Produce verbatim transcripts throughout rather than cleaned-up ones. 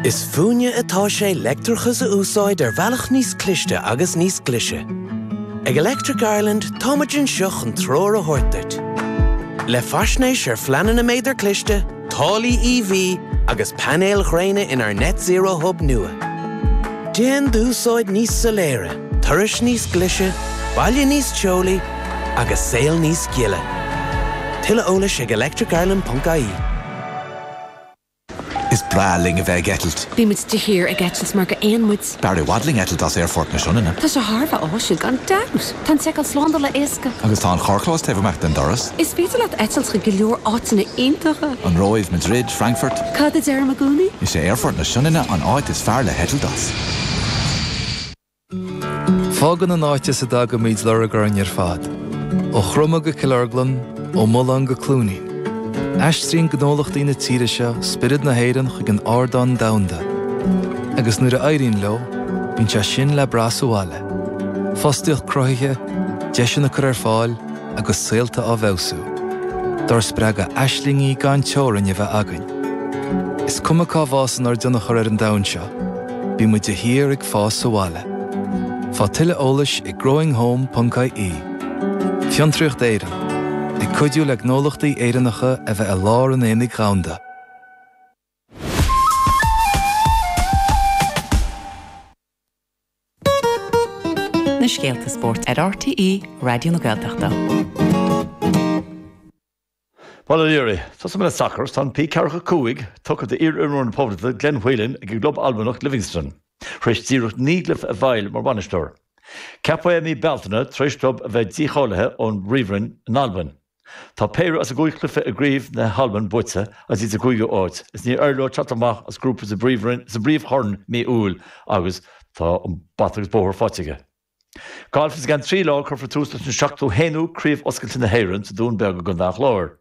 Is fúinne atá sé leictreachas a úsáid ar bhealach níos cliste agus níos glaise. Ag Electric Ireland táimid anseo chun treoir a thabhairt duit. Le faisnéis ar phleananna méadar cliste, táillí EV agus painéil ghréine inár Net Zero Hub nua. Déan d'úsáid níos soiléire, turais níos glaise, baile níos teolaí agus saol níos gile. Tuilleadh eolais ag electricireland.ie. Is breá linn a bheith ag eitilt. Bímid de shíor ag eitilt mar gur éin muid. B'fhearr i bhfad linn eitilt as aerfort na Sionainne. Tá sé thar a bheith áisiúil gan dabht. Tá an tseiceáil slándála éasca. Agus tá an carrchlós taobh amach den doras. Is féidir leat eitilt chuig go leor áiteanna iontacha. An Róimh, Madrid, Frankfurt. Cad a deirim i gcónaí? Is é aerfort na Sionainne an áit is fearr le heitilt as. Fágann an áit as a dtagaimid lorg orainn ar fad. Ó Chroma go Cill Orglan, ó Mullán go Cluainín. Aistríonn gnólachtaí na tíre seo spiorad na hÉireann chuig an ardán domhanda. Agus nuair a éiríonn leo, bíonn sé sin le brath sa bhaile. Fostaíocht cruthaithe, deiseanna curtha ar fáil agus saolta á bhfeabhsú. Dár spreagadh aislingí gan teorainn a bheith againn. Is cuma cá bhfásann ár dtionchar ar an domhan seo, bíonn muid de shíor ag fás sa bhaile. Faigh tuilleadh eolais ag growinghome.ie. Fiontraíocht Éireann, ag cuidiú le gnólachtaí Éireannacha a bheith i lár an aonaigh dhomhanda. Na scéalta spóirt ar RTÉ Raidió na Gaeltachta. Paul O'Leary, Tosóidh mé le sacar, tá an P ceathracha cúig tugtha d'iar-imreoir na Poblachta Glenn Whelan ag an gclub Albanach Livingston, tar éis díreach naoi gcluiche a bhfeighil mar bhainisteoir. Ceapadh é i mí Bealtaine tar éis club a bheith dícháilithe ón bPríomhroinn in Albain. Tá péire as a gcúig chluiche i gcraobh na hAlban buaite agus iad sa gcúigiú háit, is níor éirigh leo teacht amach as grúpa sa bPríomhchorn mí Iúil agus tá an bata agus bóthar faighte aige. Galf is i gceann trí lá cuirfear tús leis an seachtú haonú Craobh Oscailte na hÉireann sa Dún Beag i gContae an Chláir.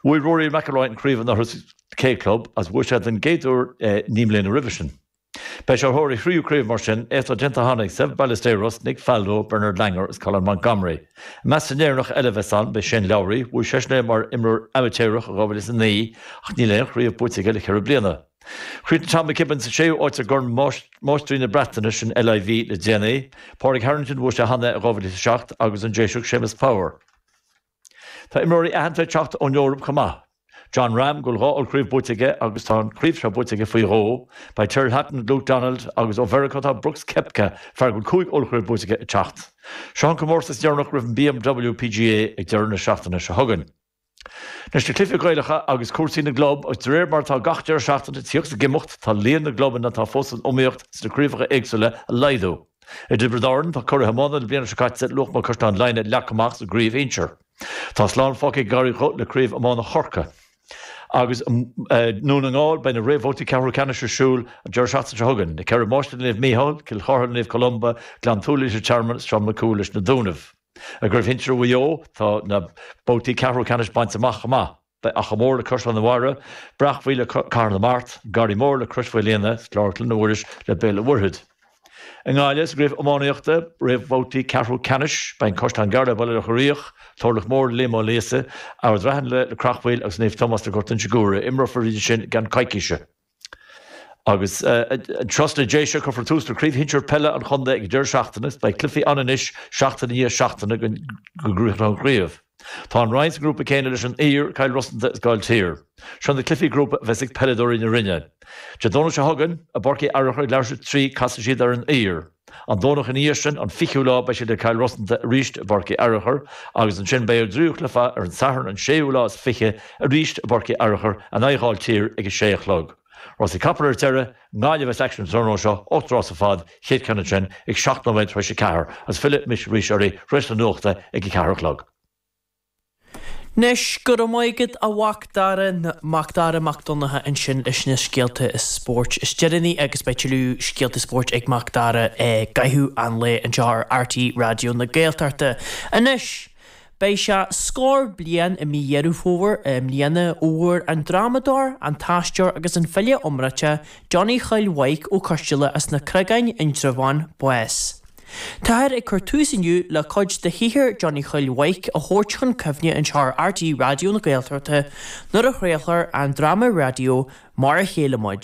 Bhuaigh Rory McIlroy an chraobh anuraidh sa K Club agus bhuaigh sé den gcéad uair naoi mbliana roimhe sin. Beidh sé ar thóir a thríú craobh mar sin, éacht atá déanta cheana ag Seve Ballesteros, Nick Faldo, Bernard Langer agus Colin Montgomerie. I measc na nÉireannach eile a bheas ann beidh Shane Lowry, bhuaigh seisean é mar imreoir amaitéarach i dhá mhíle is a naoi ach níl aon chraobh buaite aige le ceithre bliana. Chríochnaigh Tom McKibbin sa séú áit i gCorn Máistrí na Breataine, sin LIV, le déanaí. Pádraig Harrington, bhuaigh sé cheana é i dhá mhíle is a seacht agus an Déiseach Séamus Power. Tá imreoirí aitheanta ag teacht ón Eoraip chomh maith. Jon Rahm, go bhfuil dhá ollchraobh buaite aige agus tá an chraobh seo buaite aige faoi dhó. Beidh Tyrrell Hatton, Luke Donald agus ó Mheiriceá tá Brooks Koepka, fear go bhfuil cúig ollchraobh buaite aige, ag teacht. Seo an comórtas deireanach roimh an BMW PGA ag deireadh na seachtaine seo chugainn. Anois na cluichí Gaelacha agus cúrsaí na gclub agus de réir mar atá gach deireadh seachtaine ag tíocht is ag imeacht tá líon na gclubanna atá fós san iomaíocht sna craobhacha éagsúla ag laghdú. I dTiobraid Árann tá curaidh iomána na bliana seo caite Luachma-Caisleán Laighin leagtha amach sa gcraobh shinsir. Tá slán fágtha ag an gCarraig Dhubh le craobh iomána Chorcaí. Agus i nDún na nGall beidh na réamhbhabhtaí ceathrú ceannais ar siúl an deireadh seachtaine seo chugainn, Na Ceithre Máistrí le Naomh Mícheál, Cill Chartha le Naomh Columba, Gleann tSúilí leis an Tearmann is Tromna Cúil leis na Dúnaibh. I gcraobh shinsir Mhaigh Eo tá na babhtaí ceathrú ceannais bainte amach chomh maith. Beidh Achadh Mór le Caisleán an Bharraigh, Breac Bhuí le Cathair na Mart, An Garraí Mór le Crois Mhaoilíona is Clár Clainne Mhuiris le Béal an Mhuirthead. I nGaillimh, sa gcraobh iománaíochta, réamhbhabhtaí ceathrú ceannais, beidh an Caisleán Gearr le Baile Locha Riach, Turlach Mór le Liam Ó Líosa, Ard Raithin le Creachmhaoil agus Naomh Tomás le Gort Inse Guaire. Imreofar iad sin i gceann coicíse. Agus anseo sna Déise, cuirfear tús le Craobh Shinsir Peile an Chontae ag an deireadh seachtaine. Beidh cluichí ann anois seachtain i ndiaidh seachtaine go gcríochnóidh an chraobh. Tá an Rinn sa ngrúpa céanna leis an Uidhir, Cill Rosanta is Gailltír. Seo na cluichí grúpa a bheas ag peileadóirí na Rinne. Dé Domhnaigh seo chugainn, i bPáirc Uí Fhearchair ag leathuair tar éis a trí, casfaidh siad ar an Uidhir. An Domhnach ina dhiaidh sin, an fichiú lá, beidh siad le Cill Rosanta arís i bPáirc Uí Fhearchair agus ansin beidh a dtríú cluiche ar an Satharn an séú lá is fiche arís i bPáirc Uí Fhearchair in aghaidh Ghailltír ag a sé a chlog. Rásaí capall ar deireadh, i nGaillimh a bheas aicsean an tráthnóna seo, ocht rás ar fad, chéad ceann ansin ag seacht nóiméad tar éis a ceathair agus fillfidh mise arís oraibh tar éis na nuachta ag a ceathair a chlog. Anois, go raibh maith agat a Mhac Dara, Macdara Mac Donncha ansin leis na scéalta spóirt is deireanaí agus beidh tuilleadh scéalta spóirt ag Mac Dara i gcaitheamh an lae anseo ar RTÉ Raidió na Gaeltachta. Anois, beidh sé scór bliain i mí Dheireadh Fómhair i mbliana ó bhfuair an drámadóir, an t-aisteoir agus an file iomráiteach Johnny Chóil Mhaidhc Ó Coisteala as na Creagáin, Indreabhán, bás. Táthar ag cur tús inniu le cuid de shaothar Johnny Chóil Mhaidhc a thabhairt chun cuimhne anseo ar RTÉ Raidió na Gaeltachta nuair a chraolfar an dráma raidió Mar a Chéile Muid.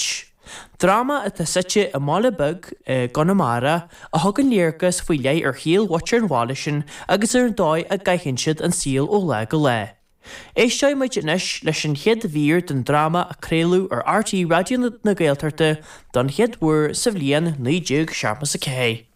Dráma atá suite i mbaile beag i gConamara a thugann léargas faoi leith ar shaol mhuintir an bhaile sin agus ar an dóigh a gcaitheann siad an saol ó lá go lá. Éisteoidh muid anois leis an chéad mhír den dráma a craoladh ar RTÉ Raidió na Gaeltachta don chéad uair sa bhliain naoi déag seachtó a ceathair.